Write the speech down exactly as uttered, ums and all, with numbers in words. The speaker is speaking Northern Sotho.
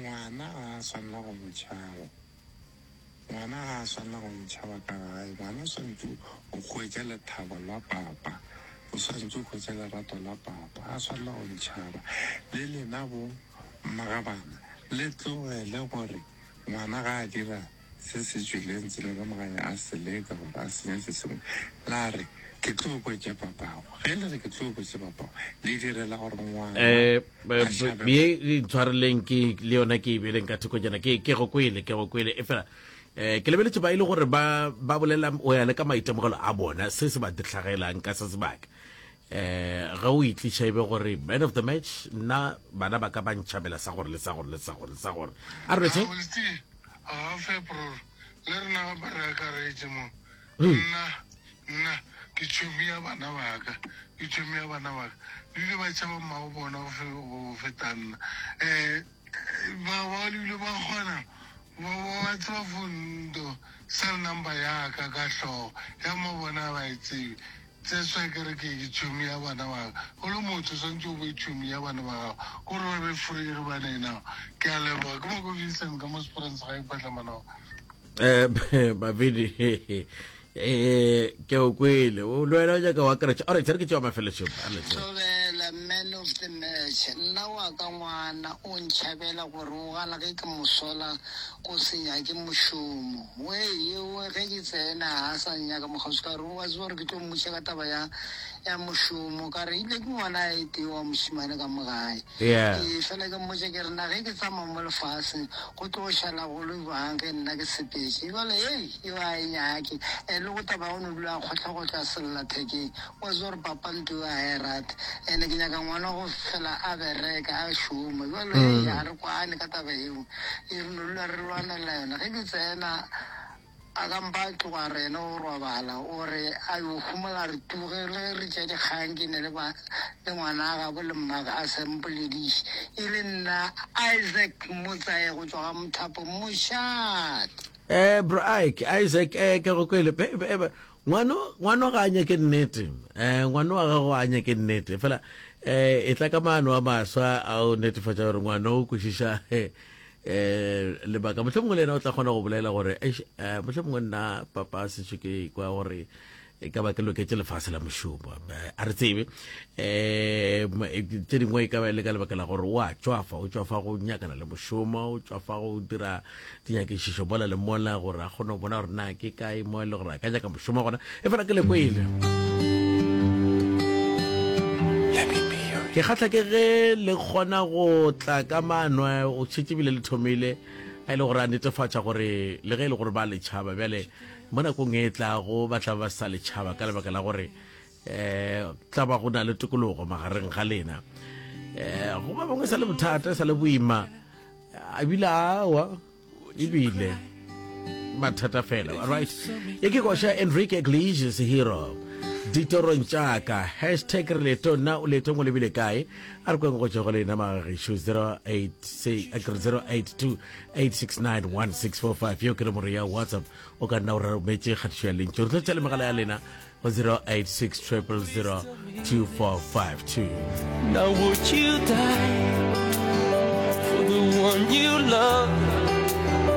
Ngwana ga a swanela go ntšhaba. Ngwana ga a swanela go ntšhaba ka gae. Ngwana o swanetše go hwetša lethabo la papa. O swanetše go hwetša lerato la papa. Ga a swanela go ntšhaba. Le lena bo mmagabana, le tlogele gore ngwana ga a dira se se tšwileng tseleng ka mogae a se leka gore a senye se sengwe, la re, Ke tlo hwetša papago. Ge le re ke tlo hwetša papago, le direla gore ngwana Eh, a tšhabe. Ye e ntshwareleng ke le yona ke e beleng ka thoko jana ke ke go kwele ke go kwele e fela eh ke lebeletše ba ile gore ba ba bolela o ya le ka maitemogelo a bona se se ba dihlagelang ka se sebaka eh ge o itliša e be gore man of the match nna bana ba ka ba ntšhabela sa gore le sa gore le sa gore le sa gore a re bethe Gabotse, ga fe bro le rena gape re akaretše mo nna nna ke tšhomi ya bana baka ke tšhomi ya bana baka ebile ba tšhaba mmago bona go fe- go feta nna um ba ba ebile ba kgona ba ba tseba fondo cell number ya ka ka hlogo ya mo bona ba e tsebe that's why ke re ke ke tšhomi ya bana ba ka o le motho o swantse o be tšhomi ya bana ba gago kore ba be free ge ba ne nao ke a leboga ke moko Vincent ka mo Springs ga ipatlamanao eh babedi eh ke o kwele o le wena o nyaka wa karetša alright re ke tšeo mafeletšong a re letšeng Thobela man of the match nna wa ka ngwana o ntšhabela gore o gana ge ke mo sola go se nyake mošomo we yeo ge ke tsena a sa nnyaka mokgauswi ka re wa tseba gore ke tlo mmotša ka taba ya ya mošomo ka re ile ke ngwana a e tee wa mošemane ka mo gae yeah ee fela ke mmotša ke re na ge ke tsamaya mo lefaseng go tlo šala go le bjang ge nna ke sepetse jale ei eo a e nyake and le go taba ya go no dula a kgotlha-kgotlha sellathekeng wa tseba gore papa nto eo a e rate and ke nyaka ngwana go fela a bereka a šoma jalo ei a re kwane ka taba eo e re no dula re lwanela yona ge ke tsena a ka mpa a tloga rena o robala o re a yo homola re tuge le re tša dikgang ke ne le ba le ngwana gabo le mmaka a sa mpolediše e le nna Isaac Motsae go tšwa ga Mothapo mošate eh bro Ike Isaac eh ke go kwele be be be ngwano ngwano ga a nyake nnete eh ngwano wa gago a nyake nnete fela eh e tla ka maano a maswa a o netefatša gore ngwano o kwešiša eh eh lebaka mohlomongwe le yena o tla kgona go bolela gore eish, eh, mohlomongwe nna papa sešo ke kwa gore e ka ba ke loketše lefase la mošomo Eh, a re tsebe um tše dingwe e ka ba e le ka lebaka la gore o a tšwafa o tšwafa go nyakana le mošomo o tšwafa go dira dinyakišišo mola le mola gore a kgone go bona gore na ke kae mo e le gore a ka nyaka mošomo gona e fela ke le kwele ke kgahla ke ge le kgona go tla ka maano o šetše bile le thomile a e le gore a netefatša gore le ge e le gore ba letšhaba bjale mo nakong e tlago ba tla ba sa letšhaba ka lebaka la gore um tla ba go na le tokologo magareng ga lena um go ba bangwe sa le bothata sa le boima ebile awa ebile mathata fela right e ke koša Enrique Iglesias hero ditorong tšaka hashtag re leetong na o leetong o lebile kae a re kweng go tšwa go lena magagešo zero eight two eight six nine one six four five yeo ke nomoro ya WhatsApp o ka nna o rometše kgatišo ya lentšu re tlo tša le megala ya lena go zero eight six triple zero two four five two Now would you die for the one you love?